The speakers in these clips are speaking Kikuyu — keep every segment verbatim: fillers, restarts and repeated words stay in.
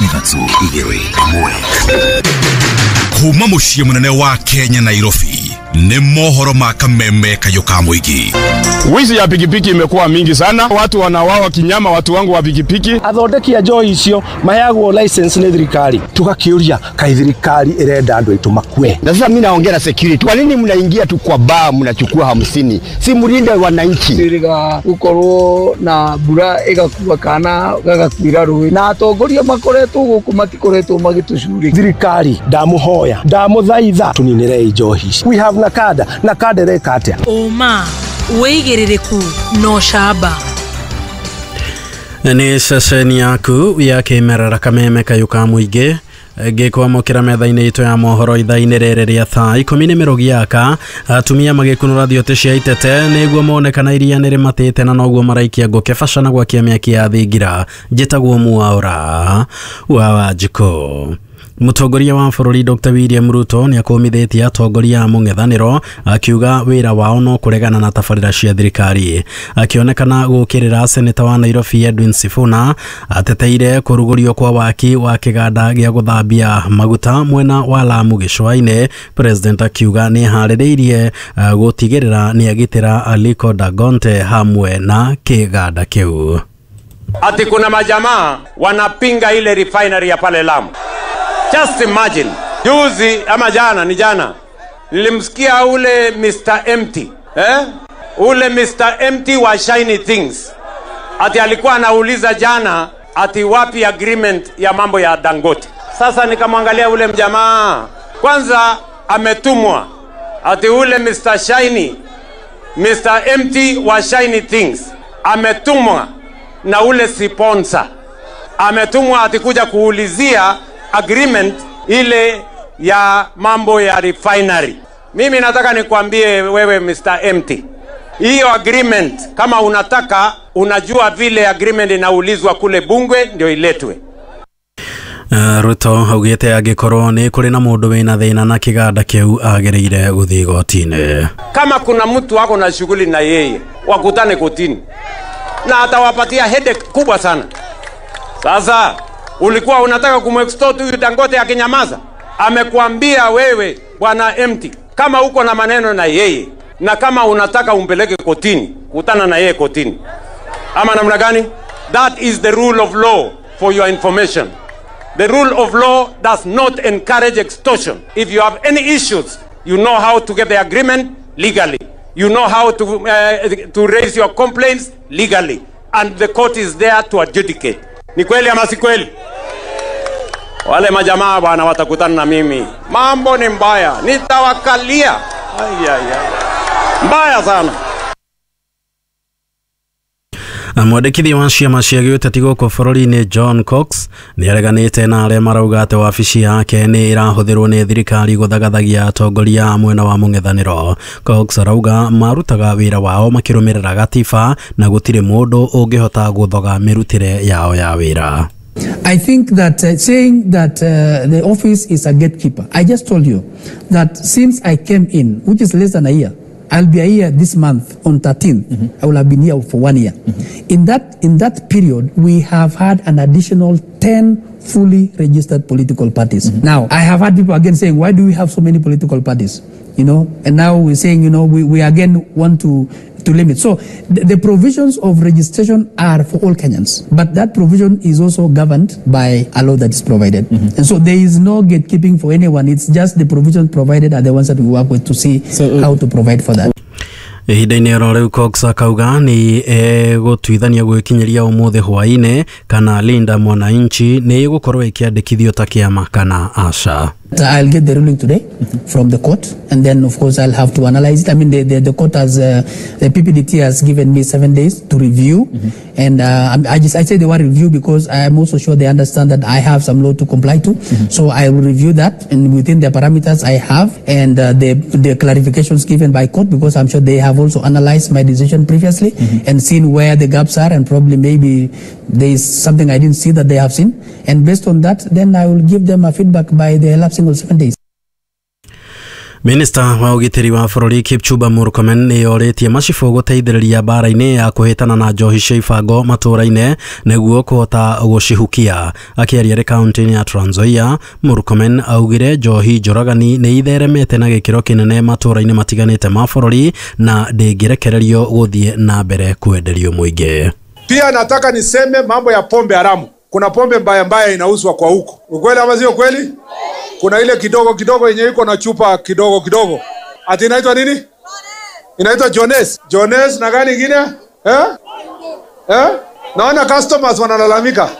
Ithatũ, igĩrĩ, ĩmwe. Kuma mũciĩ mũnene wa Kenya, Nairobi, nĩ mohoro ma kameme kayũ ka mũingĩ. Wizi ya pikipiki imekuwa mingi sana, watu wanauawa kinyama, watu wangu wa pikipiki. Athondeki a njohi icio maheagwo license nĩ thirikari. Tũgakĩũria, kaĩ thirikari ĩrenda andũ aitũ makue? Na sasa mimi naongea na security. Kwa nini mnaingia tu kwa baa mnachukua hamsini? Si mlinde wananchi. Twĩrĩga gũkorwo na mbura ĩgakua kana gagakuĩra rũĩ, na atongoria makoretwo gũkũ matikoretwo magĩtũcurĩkia. Thirikari, ndamũhoya, ndamũthaitha, tũninĩrei njohi ici. We have NACADA. NACADA ĩreka atĩa? Ũma, wĩigĩrĩrĩku na ũcamba. Nĩ ceceni yaku ya kĩmerera, kameme kayũ ka mũingĩ, ngĩkwamũkĩra metha-inĩ itũ ya mohoro ithaa-inĩ rĩrĩ rĩa thaa ikũmi nĩ mĩrũgi yaka. Atumia magĩkunũra thiote cia itete nĩguo mone kana iria nĩ rĩmatĩte, na noguo maraikia ngũkĩ baca na gwakia mĩaki ya thingira. Njĩtagwo Mwaũra wa Wanjikũ. Mũtongoria wa bũrũri Doctor William Ruto nĩ akũmithĩtie atongoria a mũng'ethanĩro, akiuga wĩra wao no kũregana na tabarĩra cia thirikari. Akĩonekana gũkĩrĩra seneta wa Nairobi Edwin Sifuna, ateteire kũrugũrio kwa waki wa kĩganda gĩa gũthambia maguta mwena wa Lamu gĩcũa-inĩ. President akiuga nĩ harĩrĩirie uh, gũtigĩrĩra nĩ agitĩra Aliko Dangote hamwe na kĩganda kĩu. Ati kuna majamaa wanapinga ile refinery ya pale Lamu. Just imagine. Juzi ama jana, ni jana, nilimsikia ule Mister Empty, eh? Ule Mister Empty wa Shiny Things. Ati alikuwa anauliza jana ati wapi agreement ya mambo ya Dangote. Sasa nikamwangalia ule mjamaa. Kwanza ametumwa ati ule Mister Shiny, Mister Empty wa Shiny Things ametumwa na ule sponsor. Ametumwa ati kuja kuulizia agreement ile ya mambo ya refinery. Mimi nataka nikwambie wewe Mister Empty, hiyo agreement kama unataka, unajua vile agreement inaulizwa kule bunge ndio iletwe. Uh, Ruto augĩte angĩkorwo nĩ kũrĩ na mũndũ wĩna thĩna na kĩganda kĩu, agĩrĩire gũthiĩ igoti-inĩ. Kama kuna mtu ako na shughuli na yeye, wakutane kotini na atawapatia headache kubwa sana. Sasa ulikuwa unataka kumextort huyu Dangote akinyamaza? Amekuambia wewe bwana Empty, kama uko na maneno na yeye na kama unataka umpeleke kotini, kutana na yeye kotini. Ama namna gani? That is the rule of law, for your information. The rule of law does not encourage extortion. If you have any issues, you know how to get the agreement legally. You know how to, uh, to raise your complaints legally. And the court is there to adjudicate. Ni kweli ama si kweli? Wale majamaa bwana watakutana na mimi. Mambo ni mbaya. Nitawakalia. Ai, ai, ai. Mbaya sana. Mwandĩkithia wa ciama cia gĩũteti gũkũ bũrũri-inĩ John Cox nĩ areganĩte na arĩa marauga atĩ wabici yake nĩ ĩrahũthĩrwo nĩ thirikari gũthagathagia atongoria a mwena wa mũng'ethanĩro. Cox arauga marutaga wĩra wao makĩrũmĩrĩra gatiba na gũtirĩ mũndũ ũngĩhota gũthoga mĩrutĩre yao ya wĩra. I think that uh, saying that uh, the office is a gatekeeper, I just told you that since I came in, which is less than a year, I'll be a year this month on thirteenth. Mm-hmm. I will have been here for one year. Mm-hmm. In that, in that period, we have had an additional ten fully registered political parties. Mm-hmm. Now, I have had people again saying, why do we have so many political parties? You know, and now we're saying, you know, we, we again want to, to limit. So the, the provisions of registration are for all Kenyans, but that provision is also governed by a law that is provided. Mm-hmm. And so there is no gatekeeping for anyone. It's just the provisions provided are the ones that we work with to see so, uh, how to provide for that. Ihinda-inĩ oro rĩu, Cox akauga nĩ egũtuithania gwĩkinyĩria ũmũthĩ hwaĩ-inĩ kana Linda Mwananchi nĩ ĩgũkorwo ĩkĩandĩkithio ta kĩama kana aca. I'll get the ruling today from the court, and then of course I'll have to analyze it. I mean, the, the, the court has, uh, the P P D T has given me seven days to review, mm-hmm. and uh, I just I say the word review because I am also sure they understand that I have some law to comply to. Mm-hmm. So I will review that, and within the parameters I have, and uh, the the clarifications given by court, because I'm sure they have also analyzed my decision previously mm-hmm. and seen where the gaps are, and probably maybe there is something I didn't see that they have seen, and based on that, then I will give them a feedback by the elapsing of seven days. Minista wa ũgitĩri wa bũrũri Kipchumba Murkomen nĩ orĩtie macibũ gũteithĩrĩria mbara-inĩ ya kũhĩtana na njohi cia ibango matũũra-inĩ nĩguo kũhota gũcihukia. Akĩaria arĩ kaunti-inĩ ya Trans Nzoia, Murkomen augire njohi njũragani nĩ itheremete na gĩkĩro kĩnene matũũra-inĩ matiganĩte ma bũrũri na ndĩngĩrekererio gũthiĩ na mbere kwenderio mũingĩ. Pia nataka niseme mambo ya pombe haramu. Kuna pombe mbaya mbaya inauzwa kwa huko. Ukweli ama sio kweli? Kuna ile kidogo kidogo yenye iko na chupa kidogo kidogo. Ati inaitwa nini? Inaitwa Jones. Jones na gani nyingine? Eh? Eh? Naona customers wanalalamika.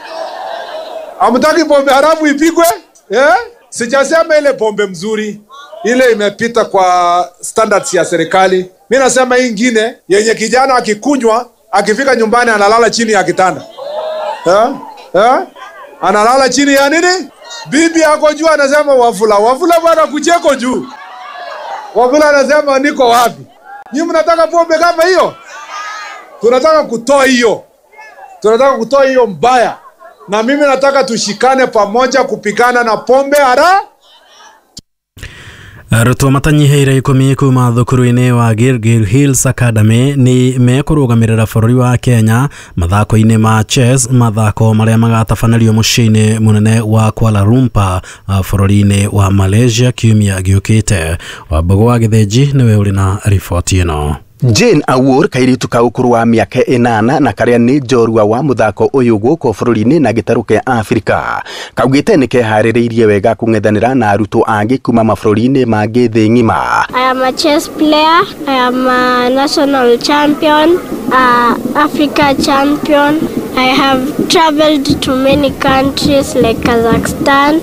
Hamtaki pombe haramu ipigwe? Eh? Sijasema ile pombe mzuri, ile imepita kwa standards ya serikali. Mimi nasema hii nyingine yenye kijana akikunywa, akifika nyumbani analala chini ya kitanda. Eh? Eh? Analala chini ya nini? Bibi yako juu anasema Wafula, Wafula bwana kucheko juu. Wafula anasema niko wapi? Nyinyi mnataka pombe kama hiyo? Tunataka kutoa hiyo. Tunataka kutoa hiyo mbaya. Na mimi nataka tushikane pamoja kupigana na pombe hara. Arutwo matanyiheire ikumi kuma thukuru-inĩ wa Gilgil Hills Academy nĩ mekũrũgamĩrĩra bũrũri wa Kenya mathako-inĩ ma chess, mathako marĩa magatabanĩrio mũciĩ-inĩ mũnene wa Kuala Lumpur bũrũri-inĩ wa Malaysia kiumia gĩũkĩte. Wambũgũ wa Gĩthĩnji nĩwe ũrĩ na riboti ĩno. Jane Awuor kairitu ka ũkũrũ wa mĩaka ĩnana na karĩa nĩ njorua wa mũthako ũyũ gũkũ bũrũri-inĩ na gĩtarũ kĩa Afrika kaugĩte nĩ keharĩrĩirie wega kũng'ethanĩra na arutwo angĩ kuma mabũrũri-inĩ mangĩ thĩ ng'ima. I am a chess player, I am a national champion, a Africa champion. I have traveled to many countries like Kazakhstan,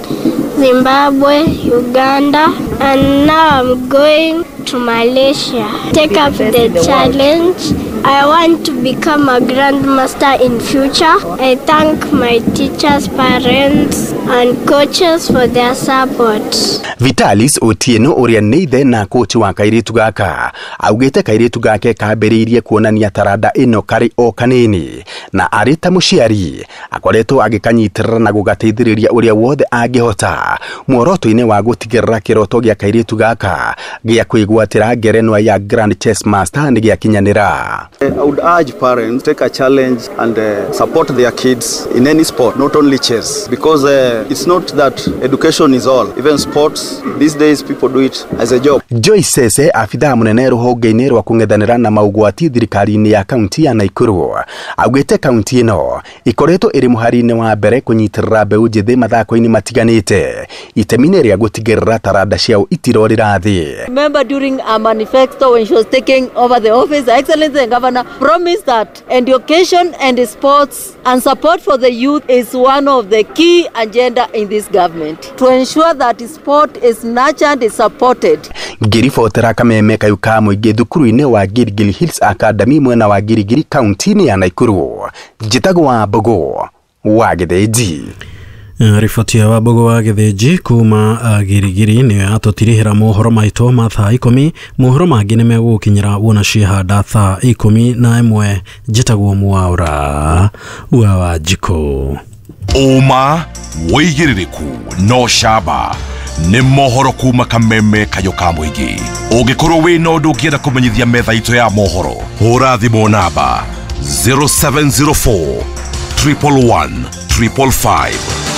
Zimbabwe, Uganda, and now I'm going to Malaysia. Take up the challenge. I want to become a grandmaster in future. I thank my teachers, parents, and coaches for their support. Vitalis Otieno ũrĩa nĩ ithe na coach wa kairitu gaka augĩte kairitu gake kambĩrĩirie kuonania taranda ĩno karĩ o kanini na arĩ ta mũciari akoretwo agĩkanyitĩrĩra na gũgateithĩrĩria ũrĩa wothe angĩhota muoroto-inĩ wa gũtigĩrĩra kĩroto gĩa kairitu gaka gĩa kwĩgwatĩra ngerenwa ya Grand Chess Master nĩ gĩakinyanĩra. I would urge parents to take a challenge and uh, support their kids in any sport, not only chess, because uh, it's not that education is all. Even sports, these days people do it as a job. Joyce Sese, afithaa munene ruhonge-inĩ rwa kũng'ethanĩra na maũgwati thirikari-inĩ ya kaunti ya Nakuru, augĩte kaunti ĩno ikoretwo ĩrĩ mũhari-inĩ wa mbere kũnyitĩrĩra mbeũ njĩthĩ mathako-inĩ matiganĩte itemi-inĩ rĩa gũtigĩrĩra taranda ciao itirorĩra thĩ. Remember during our manifesto when she was taking over the office, Her Excellency the Governor promised that education and sports and support for the youth is one of the key agenda in this government to ensure that sport is nurtured and supported. Ngĩribotera kameme kayu ka mũingĩ thukuru-inĩ wa Gilgil Hills Academy mwena wa Gilgil kaunti-inĩ ya Nakuru, njĩtagwo Wambũgũ wa Gĩthĩnji. Riboti ya Wambũgũ wa Gĩthĩnji kuma Girigiri nĩyo yatũtirihĩra mohoro maitũ ma thaa ikũmi. Mohoro mangĩ nĩ megũgũkinyĩra wona ciehanda thaa ikũmi na ĩmwe. Njĩtagwo Mwaura wa Wanjikũ. Ũma wĩigĩrĩrĩku no camba nĩ mohoro kuma kameme kayo ka mũingĩ. Ũngĩkorwo wĩna ũndũ ũngĩenda kũmenyithia metha itũ ya mohoro, hũra thimũ namba zero seven zero four triple one triple five.